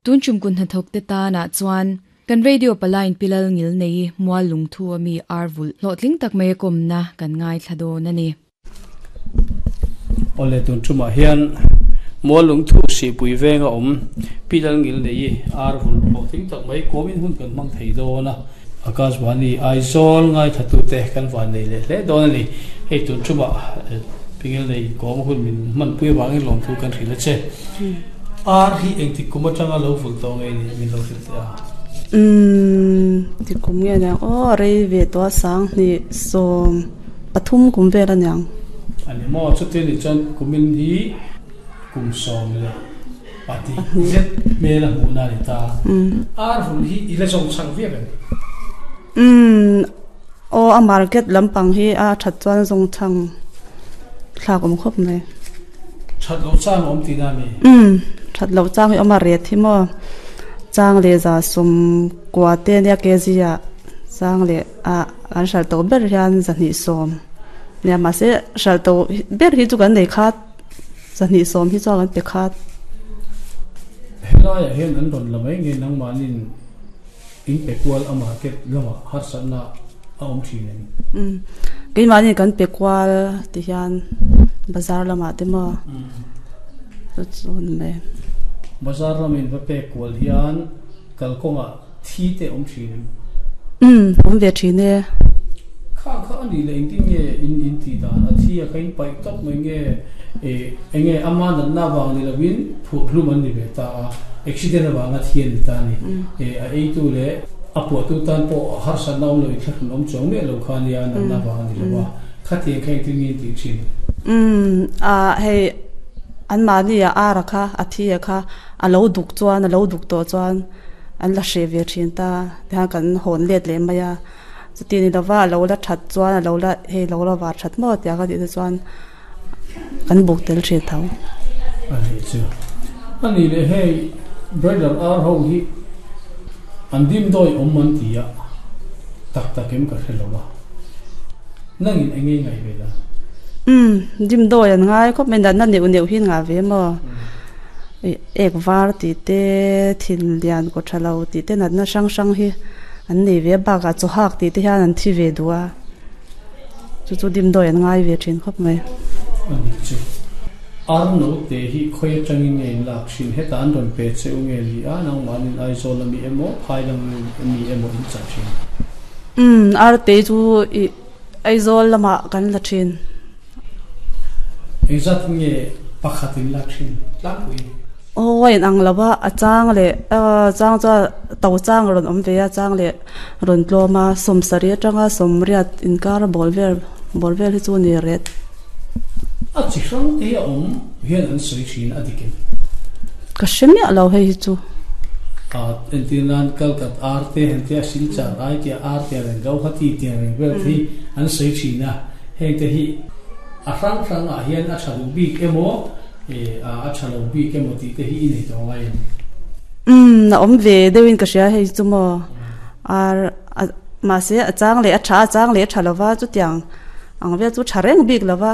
Tun tum kun hnathawk te tanah chuan kan radio palaiin Pi Lalngilneii mual lungthu a mi ar vulh hlawhtling tak mai a kawmna kan ngaithla dawn a ni. Awle tun tumah hian mual lungthu sihpui venga awm Pi Lalngilneii ar vulh hlawhtling tak mai kawmin hun kan hmang thei dawn a. Akashvani Aizawl ngaithlatute kan van nei leh hle dawn a ni. Hei tun tumah Pi Ngilnei kawm hun min hmanpui avangin lawmthu kan hrilh a che. Ar hi engtik kum atanga lo vulh tawh nge ni min lo hrilh teh a? Umm ti kum nge aniang aw rei ve tawh a sanghnih sawm pathum kum vel aniang. Ani maw chuti ni chuan kumin hi kum 14 zet hmel a hmuhna a ni ta. Ar vulh hi i la zawng chhang viau em? Umm aw a market lampang hi a that chuan zawng chhang thlak awm khawp mai. That loh chang a awm tihna a mi? Umm that loh chang hi a awm a ret hi maw chang leh za sawm kua te ania kg ah chang leh ah kan hralh tawh ber hian 210 nia mahse hralh tawh ber hi chu kan nei khat 210 hi chuan kan pe khat. Helaiah hian an rawn la mai nge nangmahnin In pe kual a market lamah harsatna a awm thin em? Umm keimahni kan pe kual ti hian bazar lamah te maw chu chu a ni mai. Bazar lamin va pek kual hian kalkawngah thi te awm thin em? Umm awm ve thin e. Kha kha a nih leh engtin nge in in tih dan? A thi a kha in paih tawp mai nge enge ama natna avang ni lovin phuah hlum an ni ve ta a, accident avanga thi a ni ta a ni. A eitu leh a puahtu tan pawh harsatna awm lo in thlahrun awm chuang miah lo kha a nia, natna avang a ni lo a. Khatiang kha engtin nge in tih thin? Umm a hei anmahni a ar a kha a thi a kha a lo duk chuan a lo duk tawh chuan an la hreh ve thin ta tihian kan hawn let leh mai a. Chuti ni lova a lo la that chuan a lo la hei lo la var that maw tia ka tih te chuan kan buk tel thin tho. A nih chu. A nih leh hei broiler ar ho hi an dim dawi awm an ti a, tak tak em ka hre lo a. Nangin eng nge ngaih ve la? Umm dim dawi an ngai khawp mai natna neuh neuh hi an ngah ve maw? Ek var tih te, thin lian kaw tha lo tih te natna hrang hrang hi an nei ve a, bakah chaw hak tih te hian an thi ve duh a, chu chu dimdawi an ngai ve thin khawp mai. A nih chu. Ar note hi khawi atangin nge in lak thin? Heta an rawn pe che u nge ni a, nangmahnin Aizawl ami emaw, Phailang ami emaw in chah thin? Umm, ar te chu ih Aizawl lamah kan la thin. Engzat nge pakhat in lak thin tlangpui? Aw a inang lo a, a chang leh chang chuan to chang a rawn awm ve a, chang leh rawn tlawm a, sawmsarih atanga sawmriat inkar bawl vel bawl vel hi chu a ni ret. A chi hrang te hi a awm hian an sawi thin a dik em? Ka hre miah lo hei hi chu. Entir nan Kalkat ar te han tia Silchar ai tia ar tia reng Gauhati tia reng vel te hi an sawi thin a. Heng te hi a hrang hrang ah hian a tha duh bik emaw a tha lo bik emaw tih te hi i nei tawh ngai em? Umm a awm ve deuh in ka hria hei chu maw ar mahse a chang leh a tha a chang leh a tha lova chutiang ang vel chu tha reng bik lova.